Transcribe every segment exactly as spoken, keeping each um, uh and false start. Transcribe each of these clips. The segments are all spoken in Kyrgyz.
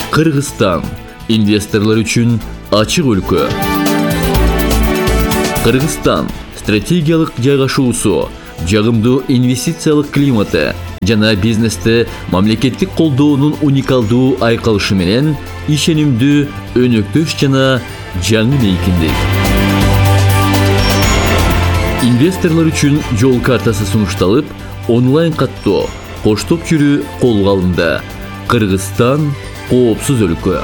Кыргызстан инвесторлор үчүн ачык өлкө. Кыргызстан стратегиялык жайгашуусу, жагымдуу инвестициялык климаты жана бизнесте мамлекеттик колдоонун уникалдуу айкалышы менен ишенимдүү, өнөктөш жана жаңы мейкиндик. Инвесторлор үчүн жол картасы сунушталып, онлайн каттоо, коштоп жүрүү колго алынды. Кыргызстан коопсуз өлкө.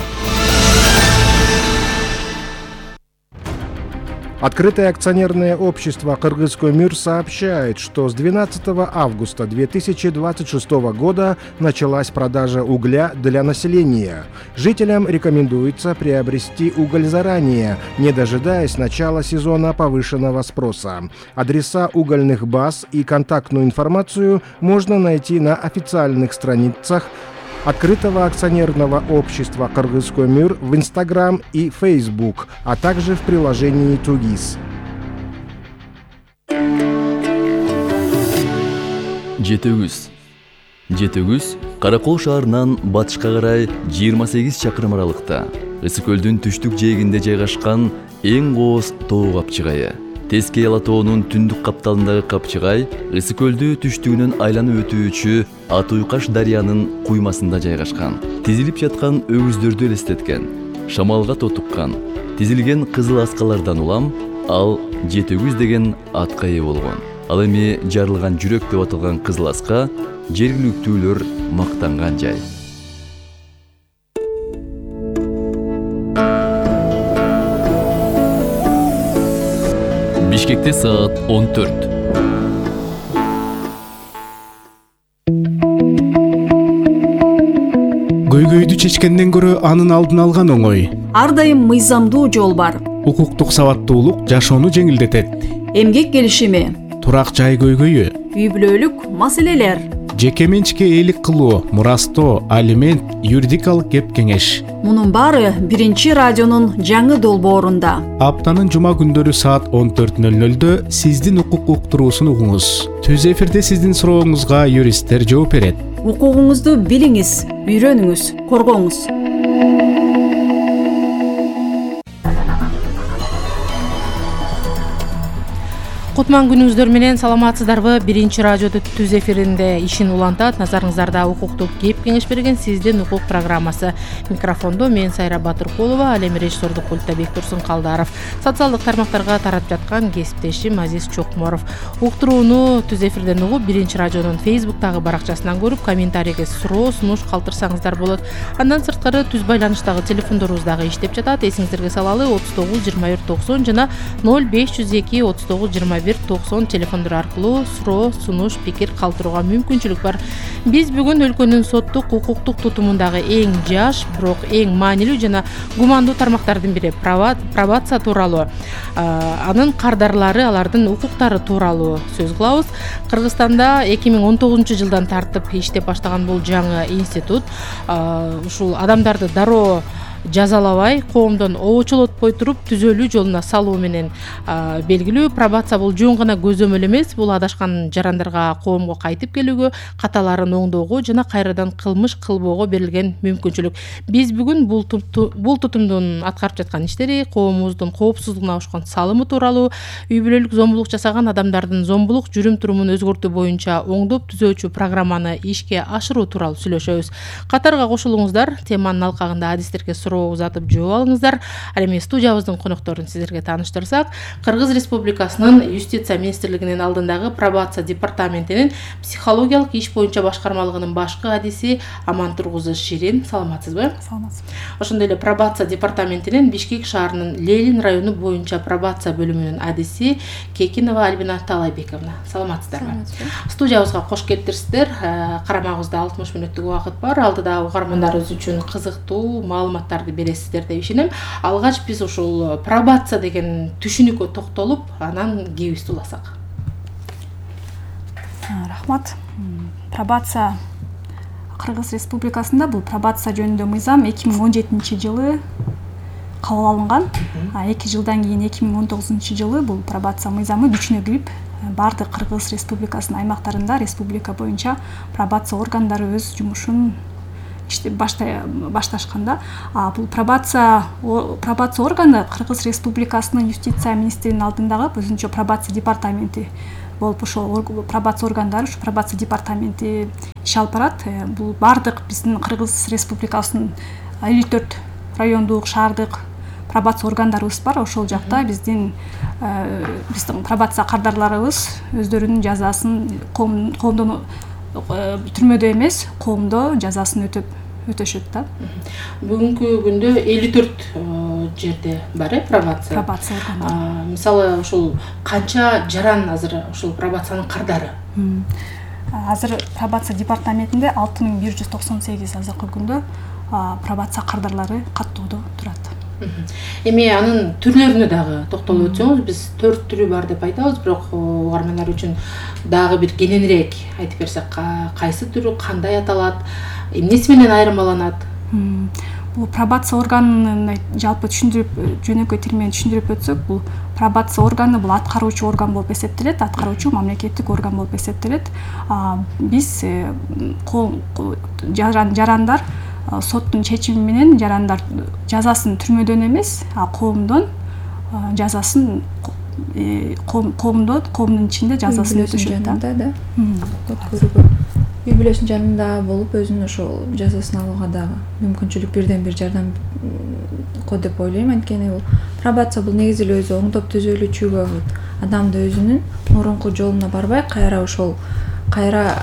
Открытое акционерное общество «Кыргызкөмүр» сообщает, что с двенадцатого августа две тысячи двадцать шестого года началась продажа угля для населения. Жителям рекомендуется приобрести уголь заранее, не дожидаясь начала сезона повышенного спроса. Адреса угольных баз и контактную информацию можно найти на официальных страницах Открытого акционерного общества «Кыргызкөмүр» в Инстаграм и Фейсбук, а также в приложении «Тугис». Жетөгүз. Жетөгүз Каракол шаарынан батышка карай жыйырма сегиз чакырым аралыкта, Ысык көлдүн түштүк жээгинде жайгашкан эң кооз тоо капчыгайы. Тескей Ала тоонун түндүк капталындагы капчыгай Ысык көлдү түштүгүнөн айланып өтүүчү Ат Уйкаш дарыянын куймасында жайгашкан. Тизилип жаткан өгүздөрдү элестеткен, шамалга тотуккан, тизилген кызыл аскалардан улам ал Жетөгүз деген атка ээ болгон. Ал эми жарылган жүрөк деп аталган кызыл аска жергиликтүүлөр мактанган жай. Бишкекте саат он төрт. Көйгөйдү чечкенден көрө анын алдын алган оңой. Ар дайым мыйзамдуу жол бар. Укуктук сабаттуулук жашоону жеңилдетет. Эмгек келишими, турак жай көйгөйү, үй бүлөлүк маселелер, жеке менчикке ээлик кылуу, мурастоо, алимент, юридикалык кеп кеңеш. Мунун баары биринчи радионун жаңы долбоорунда. Аптанын жума күндөрү саат он төрт нөл нөлдө сиздин укук уктуруусун угуңуз. Түз эфирде сиздин сурооңузга юристтер жооп берет. Укугуңузду билиңиз, үйрөнүңүз, коргоңуз. Кутман күнүңүздөр менен саламатсыздарбы? Биринчи радиодо түз эфиринде ишин улантат. Назарыңыздарда укуктук кеп кеңеш берген сиздин укук программасы. Микрофондо мен Сайра Батыркулова, ал эми режиссердук пультта Бектурсун Калдаров. Социалдык тармактарга тарап жаткан кесиптешим Азиз Чокморов. Уктурууну түз эфирден угуп, Биринчи радионун фейсбуктагы баракчасынан көрүп, комментарийге суроо, сунуш калтырсаңыздар болот. Андан сырткары түз байланыштагы телефондорубуз дагы иштеп жатат. Эсиңиздерге салалы отуз тогуз жыйырма бир токсон жана ноль беш жүз эки отуз тогуз жыйырма бир токсон телефондор аркылуу суроо, сунуш, пикир калтырууга мүмкүнчүлүк бар. Биз бүгүн өлкөнүн соттук, укуктук тутумундагы эң жаш, бирок эң маанилүү жана гумандуу тармактардын бири пробация тууралуу, анын кардарлары, алардын укуктары тууралуу сөз кылабыз. Кыргызстанда эки миң он тогузунчу жылдан тартып иштеп баштаган бул жаңы институт ушул адамдарды дароо жазалабай, коомдон обочолотпой туруп түзөлүү жолуна салуу менен белгилүү. Пробация бул жөн гана көзөмөл эмес, бул адашкан жарандарга коомго кайтып келүүгө, каталарын оңдоого жана кайрадан кылмыш кылбоого берилген мүмкүнчүлүк. Биз бүгүн бул бул тутумдун аткарып жаткан иштери, коомубуздун коопсуздугуна кошкон салымы тууралуу, үй бүлөлүк зомбулук жасаган адамдардын зомбулук жүрүм-турумун өзгөртүү боюнча оңдоп түзөөчү программаны ишке ашыруу тууралуу сүйлөшөбүз. Катарга кошулуңуздар, теманын алкагында адистерге узатып жооп алыңыздар. Ал эми студиябыздын конокторун сиздерге тааныштырсак, Кыргыз Республикасынын Юстиция министрлигинин алдындагы пробация департаментинин психологиялык иш боюнча башкармалыгынын башкы адиси Амантургузу Ширин. Саламатсызбы? Саламатсызбы. Ошондой эле пробация департаментинин Бишкек шаарынын Ленин району боюнча пробация бөлүмүнүн адиси Кекинова Альбина Талайбековна. Саламатсыздарбы? Студиябызга кош келиптирсиздер. Карамагыбызда алтымыш мүнөттүк убакыт бар. Алдыда угармандарыбыз үчүн кызыктуу маалыматтар бересиздер деп ишенем. Алгач биз ушул пробация деген түшүнүккө токтолуп, анан кебизди уласак. Рахмат. Пробация Кыргыз Республикасында бул пробация жөнүндө мыйзам эки миң он жетинчи жылы кабыл алынган. А эки жылдан кийин эки миң он тогузунчу жылы бул пробация мыйзамы күчүнө кирип, бардык Кыргыз Республикасынын аймактарында республика боюнча пробация органдары өз жумушун башташканда. Бул пробация пробация органы Кыргыз Республикасынын юстиция министринин алдындагы өзүнчө пробация департаменти болуп, ошол пробация органдары, ушу пробация департаменти иш алып барат. Бул бардык биздин Кыргыз Республикасынын элүү төрт райондук, шаардык пробация органдарыбыз бар. Ошол жакта биздин биздин пробация кардарларыбыз өздөрүнүн жазасын коомдон түрмөдө эмес, коомдо жазасын өтөп өтөшөт да. Бүгүнкү күндө элүү төрт жерде бар э пробация. Пробация органдары. Мисалы ошол канча жаран азыр ошол пробациянын кардары? Азыр пробация департаментинде алты миң бир жүз токсон сегиз азыркы күндө пробация кардарлары каттоодо турат. Эми анын түрлөрүнө дагы токтолуп өтсөңүз, биз төрт түрү бар деп айтабыз, бирок угармандар үчүн дагы бир кененирээк айтып берсек, кайсы түрү кандай аталат, эмнеси менен айырмаланат? Бул пробация органын жалпы түшүндүрүп, жөнөкөй тил менен түшүндүрүп өтсөк, бул пробация органы бул аткаруучу орган болуп эсептелет, аткаруучу мамлекеттик орган болуп эсептелет. Биз жарандар соттун чечими менен жарандар жазасын түрмөдөн эмес, коомдон жазасын коомдо коомдун ичинде жазасын өтөшөт да. Үй бүлөсүнүн жанында болуп, өзүнүн ошол жазасын алууга дагы мүмкүнчүлүк бирден бир жардам ко деп ойлойм. Анткени бул пробация бул негизи эле өзү оңдоп түзөлүүчүгө адамды өзүнүн мурунку жолуна барбай, кайра ошол кайра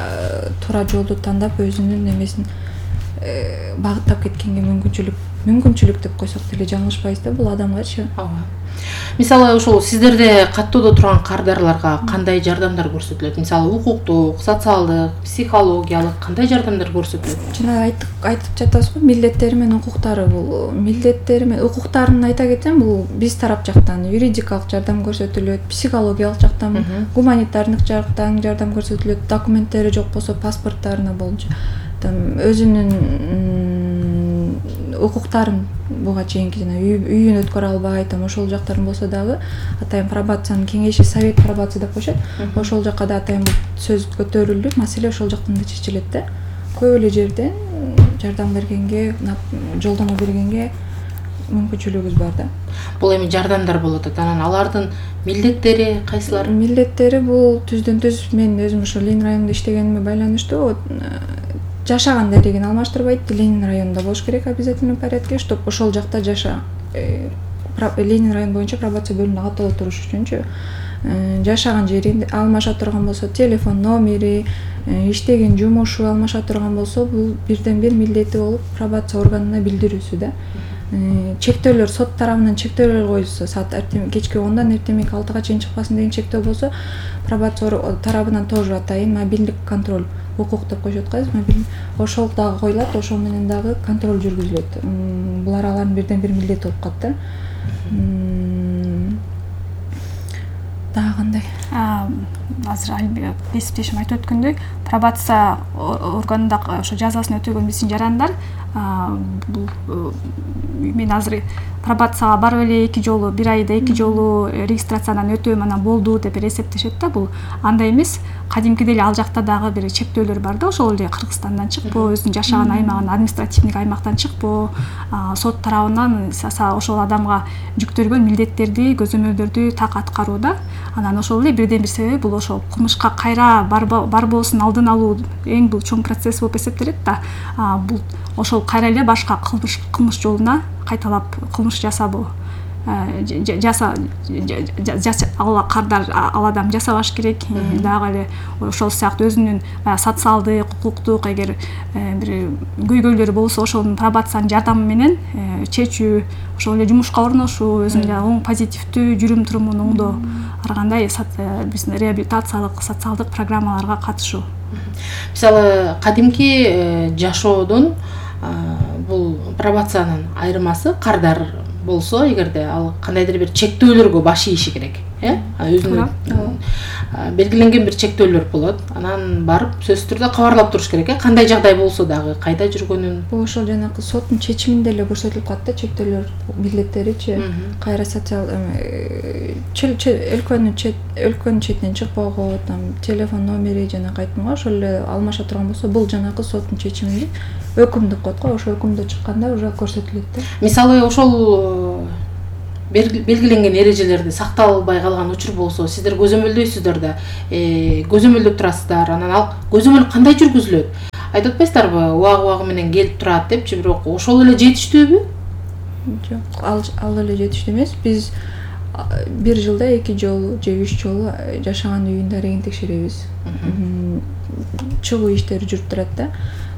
туура жолду тандап өзүнүн эмесин багыттап кеткенге мүмкүнчүлүк мүмкүнчүлүк деп койсок деле жаңылышпайбыз да бул адамгачы. Ооба. Мисалы ошол сиздерде каттоодо турган кардарларга кандай жардамдар көрсөтүлөт? Мисалы укуктук, социалдык, психологиялык кандай жардамдар көрсөтүлөт? Жана айтып айтып жатасызбы, милдеттери менен укуктары. Бул милдеттери менен укуктарын айта кетсем, бул биз тарап жактан юридикалык жардам көрсөтүлөт, психологиялык жактан, гуманитардык жактан жардам көрсөтүлөт, документтери жок болсо паспорттарына болчу өзүнүн укуктарын буга чейинки жана үйүн өткөрө албай, там ошол жактарын болсо дагы атайын пробациянын кеңеши, совет пробация деп коюшат. Ошол жакка да атайын сөз көтөрүлүп, маселе ошол жактан да чечилет да. Көп эле жерден жардам бергенге, жолдомо бергенге мүмкүнчүлүгүбүз бар да. Бул эми жардамдар болот, анан алардын милдеттери кайсылар? Милдеттери бул түздөн түз мен өзүм ошо Ленин районунда иштегениме байланыштуу жашаган дарегин алмаштырбайт. Ленин районунда болуш керек обязательный порядке, чтоб ошол жакта жаша. Ленин район боюнча пробация бөлүмүндө каттоодо туруш үчүнчү жашаган жерин алмаша турган болсо, телефон номери, иштеген жумушу алмаша турган болсо, бул бирден бир милдети болуп пробация органына билдирүүсү да. Чектөөлөр сот тарабынан чектөөлөр коюлса, саат кечки ондан эртемек алтыга чейин чыкпасын деген чектөө болсо, пробация тарабынан тоже атайын мобилдик контроль укук деп коюшат го, мобилдик ошол дагы коюлат, ошол менен дагы контроль жүргүзүлөт. Булар алардын бирден бир милдети болуп калат да. Дагы кандай? Азыр кесиптешим айтып өткөндөй, пробация органында ошо жазасын өтөгөн биздин жарандар бул мен азыр пробацияга барып эле эки жолу, бир айда эки жолу регистрациядан өтөм, анан болду деп эсептешет да. Бул андай эмес. Кадимкидей эле ал жакта дагы бир чектөөлөр бар да, ошол эле Кыргызстандан чыкпоо, өзүнүн жашаган аймагынан, административдик аймактан чыкпоо, сот тарабынан ошол адамга жүктөлгөн милдеттерди, көзөмөлдөрдү так аткаруу да. Анан ошол эле бирден бир себеби бул ошол кылмышка кайра барбоосун алдын алуу эң бул чоң процесс болуп эсептелет да. Бул ошол кайра эле башка кылмыш кылмыш жолуна кайталап кылмыш жасабоо жаса ал кардар ал адам жасабаш керек. Дагы эле ошол сыяктуу өзүнүн социалдык, укуктук эгер бир көйгөйлөрү болсо, ошонун пробациянын жардамы менен чечүү, ошол эле жумушка орношуу, өзүнүн оң позитивдүү жүрүм турумун оңдоо, ар кандай биздин реабилитациялык, социалдык программаларга катышуу. Мисалы кадимки жашоодон бул пробациянын айырмасы кардар болсо, эгерде ал кандайдыр бир чектөөлөргө баш ийиши керек. э өзүнүн белгиленген бир чектөөлөр болот. Анан барып сөзсүз түрдө кабарлап туруш керек э кандай жагдай болсо дагы, кайда жүргөнүн. Бул ошол жанагы соттун чечиминде эле көрсөтүлүп калат да чектөөлөр билеттеричи. Кайра социал өлкөнүн чет өлкөнүн четинен чыкпагы, там телефон номери жана кайтымга ошол эле алмаша турган болсо, бул жанагы соттун чечиминде өкүм деп коет го. Ошо өкүмдө чыкканда уже көрсөтүлөт да. Мисалы ошол белгиленген эрежелерди сакталбай калган учур болсо, сиздер көзөмөлдөйсүздөр да, көзөмөлдөп турасыздар. Анан ал көзөмөл кандай жүргүзүлөт? Айтып атпайсыздарбы, убагы-убагы менен келип турат депчи, бирок ошол эле жетиштүүбү? Жок, ал ал эле жетиштүү эмес. Биз бир жылда эки жолу же үч жолу жашаган үйүн дарегин текшеребиз. Чыгуу иштери жүрүп турат да.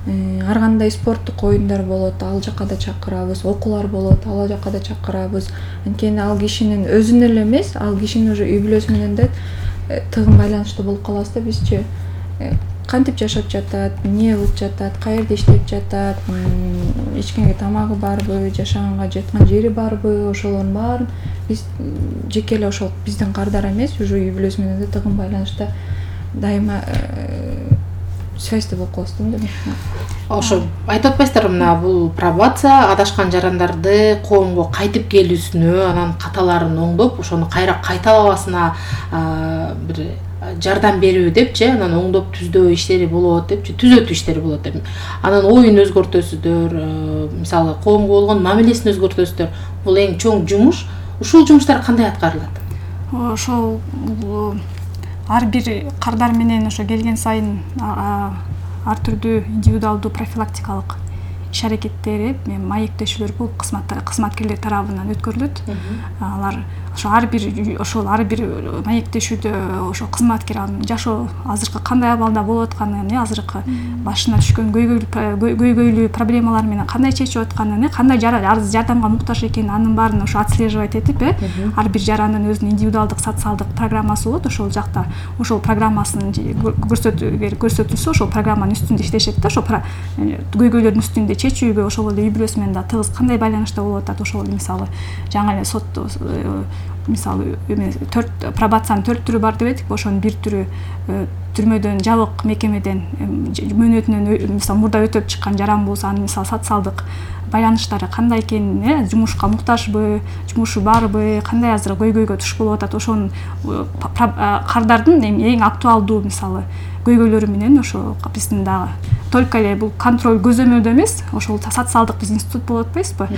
Ар кандай спорттук оюндар болот, ал жакка да чакырабыз, окуулар болот, ал жакка да чакырабыз. Анткени ал кишинин өзүнө эле эмес, ал кишинин уже үй бүлөсү менен да тыгын байланыштуу болуп калабыз да бизчи. Кантип жашап жатат, эмне кылып жатат, каерде иштеп жатат, ичкенге тамагы барбы, жашаганга жаткан жери барбы, ошолордун баарын биз жеке эле ошол биздин кардар эмес, уже үй бүлөсү менен да тыгын байланышта дайыма связьте болуп калабыз да. Ошо айтып атпайсыздарбы, мына бул пробация адашкан жарандарды коомго кайтып келүүсүнө, анан каталарын оңдоп, ошону кайра кайталабасына бир жардам берүү депчи, анан оңдоп түздөө иштери болот депчи, түзөтүү иштери болот деп. Анан оюн өзгөртөсүздөр, мисалы коомго болгон мамилесин өзгөртөсүздөр. Бул эң чоң жумуш. Ушул жумуштар кандай аткарылат? Ошол ар бир кардар менен ошо келген сайын ар түрдүү индивидуалдуу профилактикалык иш аракеттери, маектешүүлөр болуп кызматкерлер тарабынан өткөрүлөт. Алар ошо ар бир ошол ар бир маектешүүдө ошо кызматкер жашоо азыркы кандай абалда болуп атканын, азыркы башына түшкөн көйгөйлүү проблемалар менен кандай чечип атканын, кандай жардамга муктаж экенин, анын баарын ошо отслеживать этип, ар бир жарандын өзүнүн индивидуалдык социалдык программасы болот. Ошол жакта ошол программасын көрсөтүлсө, ошол программанын үстүндө иштешет да, ошол көйгөйлөрдүн үстүндө чечүүгө ошол эле үй бүлөсү менен да тыгыз кандай байланышта болуп атат. Ошол мисалы жаңы эле сот мисалы төрт пробациянын төрт түрү бар деп этик. Ошонун бир түрү түрмөдөн, жабык мекемеден мөөнөтүнөн мисалы мурда өтөп чыккан жаран болсо, анын мисалы социалдык байланыштары кандай экенин, жумушка муктажбы, жумушу барбы, кандай азыр көйгөйгө туш болуп атат, ошонун кардардын эң актуалдуу мисалы көйгөйлөрү менен ошо биздин дагы только эле бул контроль көзөмөлдө эмес, ошол социалдык биз институт болуп атпайбызбы?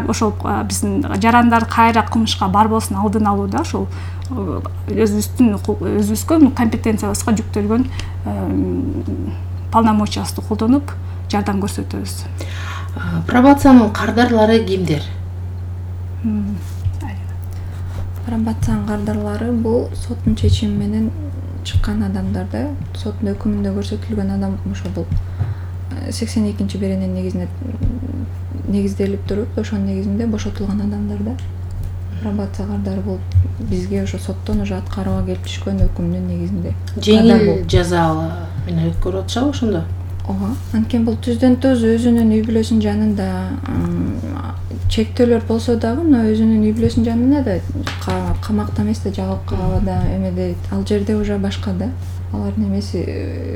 Ошол биздин жарандар кайра кылмышка барбосун алдын алууда ошол өзүбүздүн өзүбүзгө компетенциябызга жүктөлгөн полномочиясты колдонуп жардам көрсөтөбүз. Пробациянын кардарлары кимдер? Пробациянын кардарлары бул соттун чечими менен чыккан адамдар да, соттун өкүмүндө көрсөтүлгөн адам ошо бул сексен экинчи беренен негизинде негизделип туруп, ошонун негизинде бошотулган адамдар да. Пробация кардары бул бизге ошо соттон уже аткарууга келип түшкөн өкүмдүн негизинде. Жеңил жазалы менен өткөрүп атышабы ошондо? Ооба, анткени бул түздөн түз өзүнүн үй бүлөсүнүн жанында чектөөлөр болсо дагы, мына өзүнүн үй бүлөсүнүн жанында да камакта эмес да, жабыккада эмеде, ал жерде уже башка да. Алардын эмеси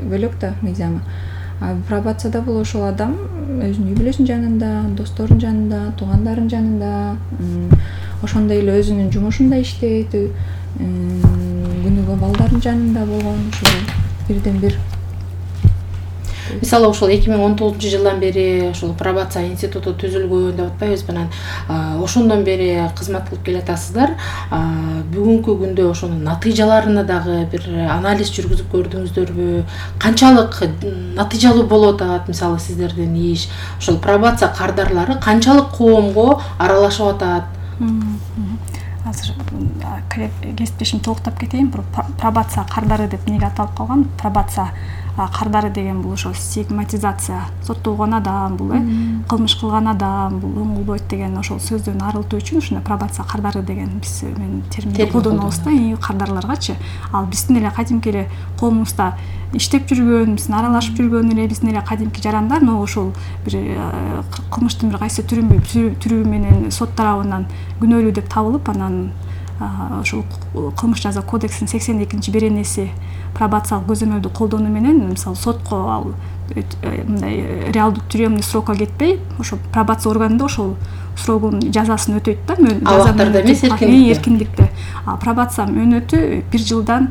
бөлөк да мыйзамы. А пробацияда бул ошол адам өзүнүн үй бүлөсүнүн жанында, досторунун жанында, туугандарынын жанында, ошондой эле өзүнүн жумушунда иштейт, күнүгө балдардын жанында болгон, ошол бирден бир. Мисалы ошол эки миң он тогузунчу жылдан бери ошол пробация институту түзүлгөн деп атпайбызбы? Анан ошондон бери кызмат кылып келатасыздар. Бүгүнкү күндө ошонун натыйжаларына дагы бир анализ жүргүзүп көрдүңүздөрбү? Канчалык натыйжалуу болуп атат мисалы сиздердин иш? Ошол пробация кардарлары канчалык коомго аралашып атат? Азыр кесиптешим толуктап кетейин. Пробация кардары деп эмнеге аталып калган? Пробация кардары деген бул ошо стигматизация, соттолгон адам, бул кылмыш кылган адам, бул оңолбойт деген ошол сөздөн арылтуу үчүн ушундай пробация кардары деген биз мен терминди колдонобуз да, кардарларгачы. Ал биздин эле кадимки эле коомубузда иштеп жүргөн, биздин аралашып жүргөн эле биздин эле кадимки жарандар, но ошол бир кылмыштын бир кайсы түрү түрү менен сот тарабынан күнөөлүү деп табылып, анан ошол кылмыш жаза кодексинин сексен экинчи беренеси пробациялык көзөмөлдү колдонуу менен мисалы сотко ал мындай реалдуу тюремный срокко кетпей ошо пробация органында ошол срогун жазасын өтөйт да. Абактарда эмес, эркиндикте. эркиндикте. Пробация мөөнөтү бир жылдан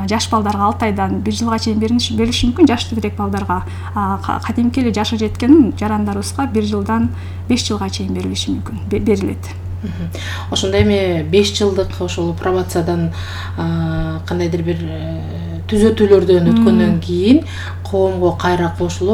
жаш балдарга алты айдан бир жылга чейин берилиши мүмкүн, жаш тегерек балдарга. Кадимки эле жашы жеткен жарандарыбызга бир жылдан беш жылга чейин берилиши мүмкүн, берилет. Ошондо эми беш жылдык ошол пробациядан кандайдыр бир түзөтүүлөрдөн өткөндөн кийин коомго кайра кошулуп